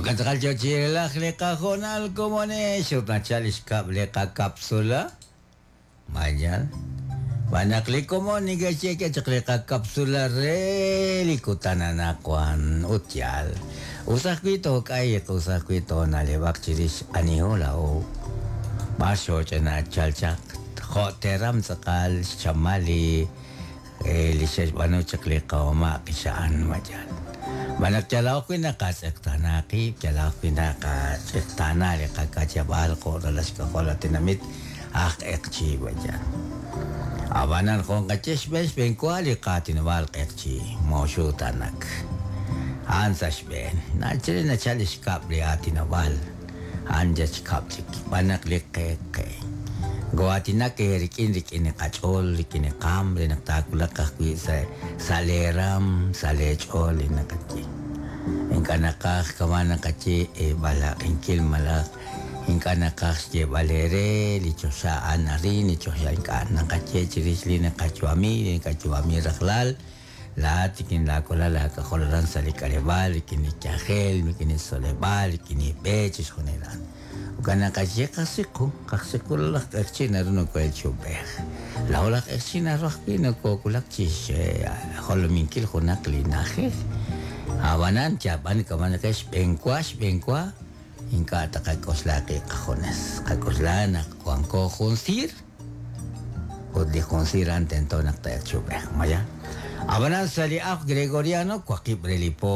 Jo'kan tz'aqal yo chi relaj li qahoonal komonex ut nachal li xkab' li qakapsula. Mañan. Xb'aan naq li komon neke'xye k'e chaq li qakapsula re li kutan anaqwan ut yaal. Us ajwi' took'ayq, us ajwi' toona'leb'aq chirix aniho laa'o. B'ar xooch'ina chal chaq jo' teram tz'aqal xchamal li li xe'xb'aanu chaq li qamama' qixa'an ma yaal. Xb'aan naq yal ajwi' naqatz'eqtaana qib', yal ajwi' naqatz'eqtaana li qakachab'al jo' ralal xk'ajol li tenamit aj q'eqchi' ma yaal. Ab'anan jo' nqaye xb'een xb'eenwa li qaatinob'aal q'eqchi' mooxutanak. A'an sa' xb'een. Nachal nachal li xkab' li aatinob'aal. A'an yal xkab' chik. Xb'aan naq li qe qe. Goo'aatinak eerik'in rik'in li qach'ool, rik'in li qaam re naq taawulaq ajwi' sa' sa' leeraam, sa' leech'ool li naqaye. Ink'a' naqaj kama' naqaye eeb'alaq'inkil malaj ink'a' naqaj xyeeb'al eere li choxa a'an arin, li choxa ink'a' naqaye chirix li naqayu'ami, li naqayu'ami rajlal. Laa'at rik'in laawalal laak'ajol aran sa' li k'aleb'aal, rik'in li yajel, rik'in li tzoleb'aal, rik'in li b'e, chixjunil a'an. Jo'kan naqaye qajsiqu, qajsiqu laj q'eqchi' naru noko'el chi ub'ej. Laa'o laj q'eqchi' naru ajwi' nokoowulak chi xjolominkil junaq li na'ajej. Ab'anan yab'an kama' naqe xb'eenwa xb'eenwa ink'a' taqak'oxla qib' qajunes. Qak'oxla naq wanko jun siir ut li jun siir a'an tento naq ta'elq chi ub'ej. Maya. Ab'anan sa' li ajl gregoriano waqib' re li po.